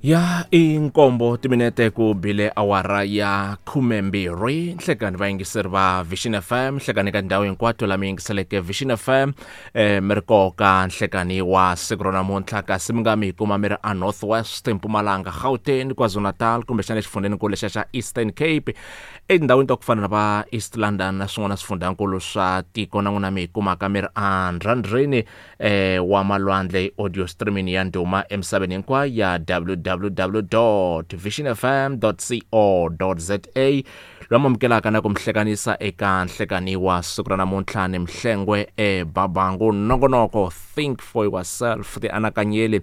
Ya i nkombo timinete ku bile awara ya 12 nhlekani vayingiseri va Vision FM, nhlekani ka ndhawu hinkwato la mi yingiseleke Vision FM mi ri koka nhlekani wa siku ra namuntlha. Kasi mi nga mi hi kuma mi ri a North West, Mpumalanga, Gauteng, KwaZulu-Natal, kumbexana exifundzheninkulu lexiya xa Eastern Cape, etindhawini ta ku fana na va East London na swin'wana swifundzhankulu swa tiko, na n'wina mi hi kumaka mi ri a ndzhandzheni wa malwandle, audio streaming ya ndhuma emisaveni hinkwayo ya www.visionfm.co.za. Loyi amukelaka na ku mihlekanisa eka nhlekani wa siku ra namuntlha ni Mhlengwe eBabangu, nongonoko Think for Yourself, ti anakanyeli,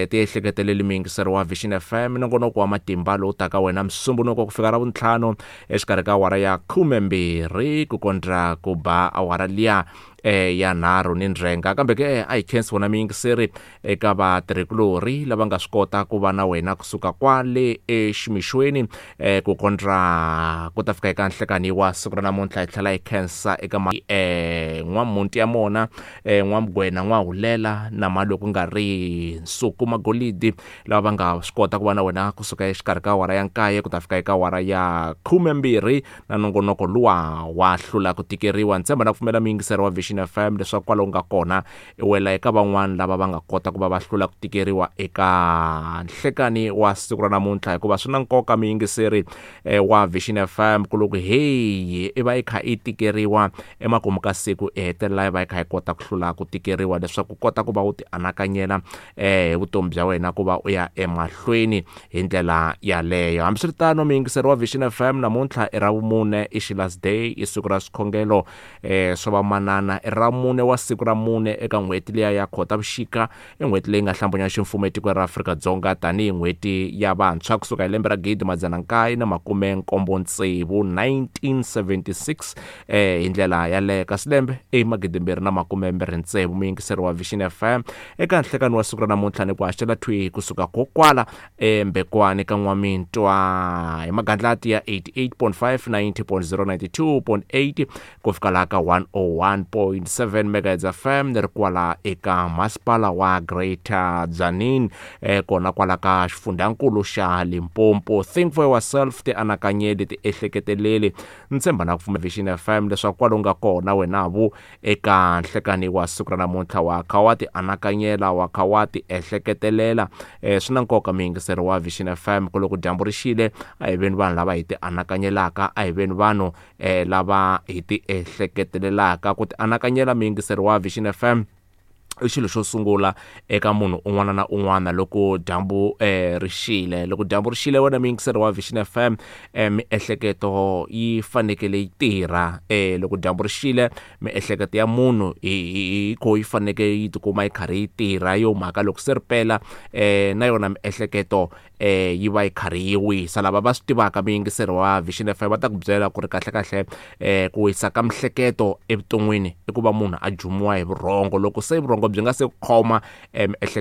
ti ehleketeleli, miyingiseri wa Vision FM, nongonoko wa matimba lowu taka wena Musumbunuko ku fika ra vuntlhanu exikarhi ka awara ya 12 ku kondra ku ba awara liya ya 3 ni ndzhenga. Kambe ke a hi khensi vona miyingiseri eka vatirhikulorhi lava nga swi kota ku va na wena kusuka kwale eximixweni ku kondra ku ta fika eka nhlekani wa siku ra namuntlha. Hi tlhela hi khensa eka n'wamunti ya mona, n'wamugwena, n'wahulela na malo ku nga ri Nsuku Magolidi, lava va nga swi kota ku va na wena kusuka exikarhi ka awara ya 9 ku ta fika eka awara ya 12 na nongonoko luwa wa Hlula ku Tikeriwa. Ni tshemba na ku pfumela muyingiseri wa Vision FM leswaku kwalaho nga kona i wela eka van'wana lava va nga kota ku va va hlula ku tikeriwa eka nhlekani wa siku ra namuntlha, hikuva swi na nkoka muyingiseri wa Vision FM ku loko heyi i va i kha i tikeriwa emakumu ka siku i hetelela i va i kha i kota ku hlula ku tikeriwa, leswaku kota ku va u ti anakanyela hi vutomi bya wena ku va u ya emahlweni hi ndlela yaleyo. Hambiswiritano muyingiseri wa Vision FM, namuntlha i Ravumune, i Sheila's Day, i siku ra swikhongelo swa vamanana, i Ramune wa siku ra 4 eka n'hweti liya ya Khotavuxika, i n'hweti leyi nga hlambanya ximfumo etikweni ra Afrika-Dzonga tanihi n'hweti ya vantshwa kusuka hi lembe ra 1976, 1976 hi ndlela yaleyo. Kasi lembe i 2026. Muyingiseri wa Vision FM, eka nhlekani wa siku ra namuntlha ni ku haxela thwi kusuka kokwala eMbekwani ka N'wamintwa hi magandlati ya 88.5, 90.0, 92.8 ku fika laha ka 101.7 megahertz FM, ni ri kwala eka masipala wa Greater Tzaneen, kona kwala ka xifundhankulu xa Limpopo. Think for Yourself, ti anakanyeli, ti ehleketeleli. Ni tshemba na ku pfumela Vision FM leswaku kwalo nga kona wena vu eka nhlekani wa siku ra namuntlha wa kha wa ti anakanyela, wa kha wa ti ehleketelela. Swi na nkoka muyingiseri wa Vision FM ku loko dyambu ri xile a hi veni vanhu lava hi ti anakanyelaka, a hi veni vanhu lava hi ti ehleketelelaka. Ku ti anakanyela muyingiseri wa Vision FM i xilo xo sungula eka munhu un'wana na un'wana loko dyambu ri xile. Loko dyambu ri xile wena muyingiseri wa Vision FM, miehleketo yi fanekele yi tirha. Loko dyambu ri xile miehleketo ya munhu hi ko yi fanekele yi tikuma yi karhi yi tirha, yo mhaka loko se ri pela na yona miehleketo yi va yi karhi yi wisa. Lava va swi tivaka muyingiseri wa Vision FM va ta ku byela ku ri kahlekahle ku wisa ka mihleketo evuton'wini i ku va munhu a jumiwa hi vurhongo. Loko se vurhongo byi nga se khoma miehleketo